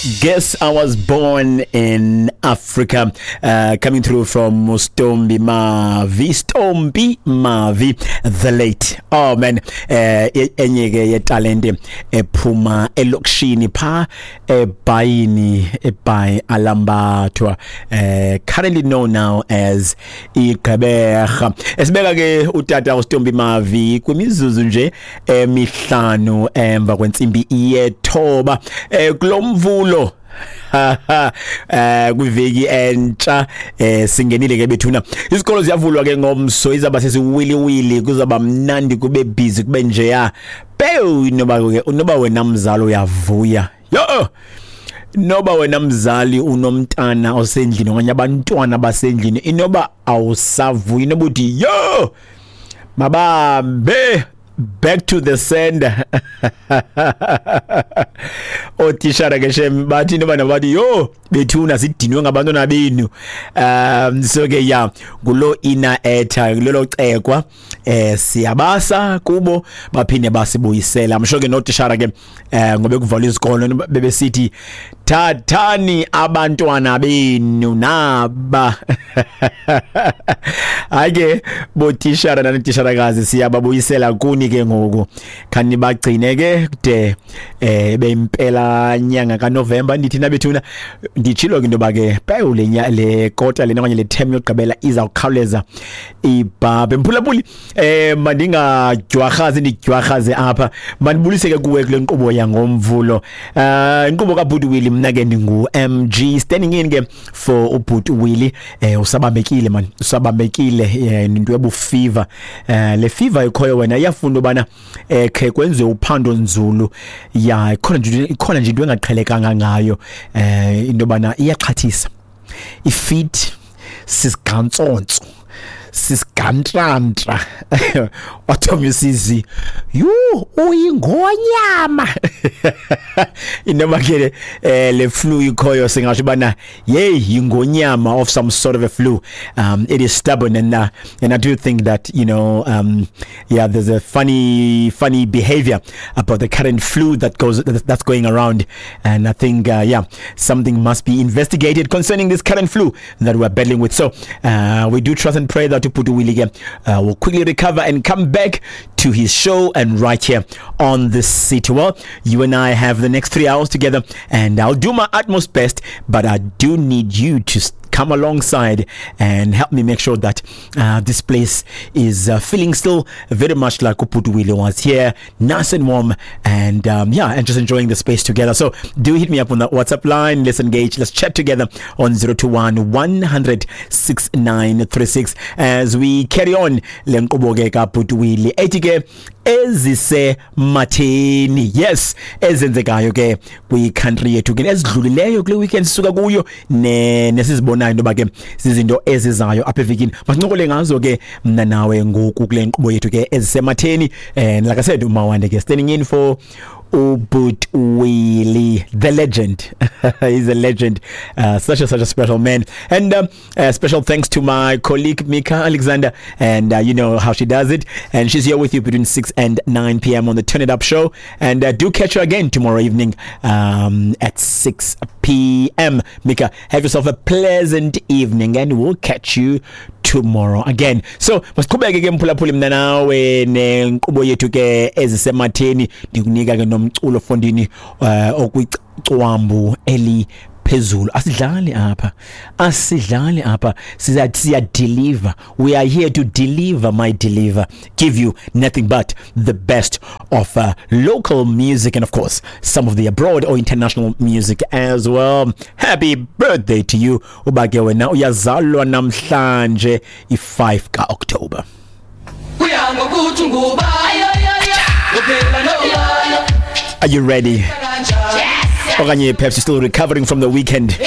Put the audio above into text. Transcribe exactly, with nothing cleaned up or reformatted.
Guess I was born in Africa. Uh, coming through from Stombi Mavi, Stombi Mavi, the late. Oh man, eh enye ke yetalente ephuma elokishini pha eBhayini, eBhayi Alambathwa, eh currently known now as iGqeberha. Esibeka ke utata uStombi Mavi kwimizuzu nje emihlanu emva kwentsimbi yethoba, eh kulomvulo eh kwiveki entsha. eh singenile ke bethuna, izikolo ziyavulwa ke ngomso, izaba sesiwiliwili, kuzaba mnandi, kube busy, kube njeya. Pew, noba ke noba wena mzali uyavuya, yo noba wena mzali unomntana osendlini okanye abantwana basendlini, inoba awusavuyi, noba uthi yo mabambe back to the sender. Otishara ke shem bathi noba nabathi yo bethuna sidinwe ngabantwana benu. Um so ke ya ngulo ina etha lelo cekwa, eh siyabasa kubo baphinde basibuyisela. I'm sure ke notishara ke eh ngobe kuvalwa izikolo bebesithi thathani abantwana benu naba. Hayi botishara nanitisharakazi, siyababuyisela kuni ke ngoku, khani bagcine ke kude eh beimpela nyanga kaNovember. Ndithi nabethuna nditshilo ke into ba ke pewu le le kota lena okanye le term yokugqibela izawukhawuleza ibhabhe. Mphulaphuli, eh mandingajwarhazi ndijwarhaze apha, mandibulise ke kuwe kule nkqubo yangomvulo, eh inkqubo kaBhuti Willie. Mna ke ndingu M G standing in ke for uBhuti Willie. Eh usabambekile man, usabambekile into ebu fever. Eh le fever ikhoyo wena iyafuna ubana eh khe kwenziwe uphando nzulu. Ya ikhona nje ikhona nje into engaqhelekanga ngayo, eh into bana iyaxhathisa, ifit sisigantsonso sisigantrantра wathomisizi yu uyingonyama. Inoma ke eh le flu ikhoyo singasho bana yey yingonyama of some sort of a flu. Um it is stubborn, and uh, and I do think that, you know, um yeah, there's a funny funny behavior about the current flu that goes that's going around, and I think uh, yeah, something must be investigated concerning this current flu that we're battling with. So uh, we do trust and pray that Uputu Willie uh, will quickly recover and come back to his show and right here on the city. Well, you and I have the next three hours together, and I'll do my utmost best, but I do need you to come alongside and help me make sure that uh, this place is uh, feeling still very much like Uputu Willie was here, nice and warm, and um, yeah, and just enjoying the space together. So do hit me up on the WhatsApp line. Let's engage. Let's chat together on zero two one, one hundred, six nine three six as we carry on le nkqubo ke kaBhuti Willie ethi ke ezisematheni, yes, ezenzekayo ke kwi-country yethu ke ezidlulileyo kule weekend sisuka kuyo ne nesizibonayo into ba ke zizinto ezizayo apha evikini. Masincokole ngazo ke mna nawe ngoku kule nkqubo yethu ke ezisematheni. And like I said, uMawande ke standing in for Ubut Willie, the legend. He's a legend, uh, such a such a special man. And um, uh, special thanks to my colleague Mika Alexander, and uh, you know how she does it, and she's here with you between six and nine p.m. on the Turn It Up show. And uh, do catch her again tomorrow evening um, at six p.m. Mika, have yourself a pleasant evening, and we'll catch you tomorrow again. So masiqhubeke ke mphulaphuli mna nawe nenkqubo yethu ke ezisematheni. Ndikunika ke nomculo fondini uh, okwicwambu eli phezulu. Asidlali apha, asidlali apha, siya siya deliver. We are here to deliver, my deliver, give you nothing but the best of uh, local music, and of course some of the abroad or international music as well. Happy birthday to you uba ke wena uyazalwa namhlanje i-five ka October. Are you ready? Okanye perhaps you're still recovering from the weekend.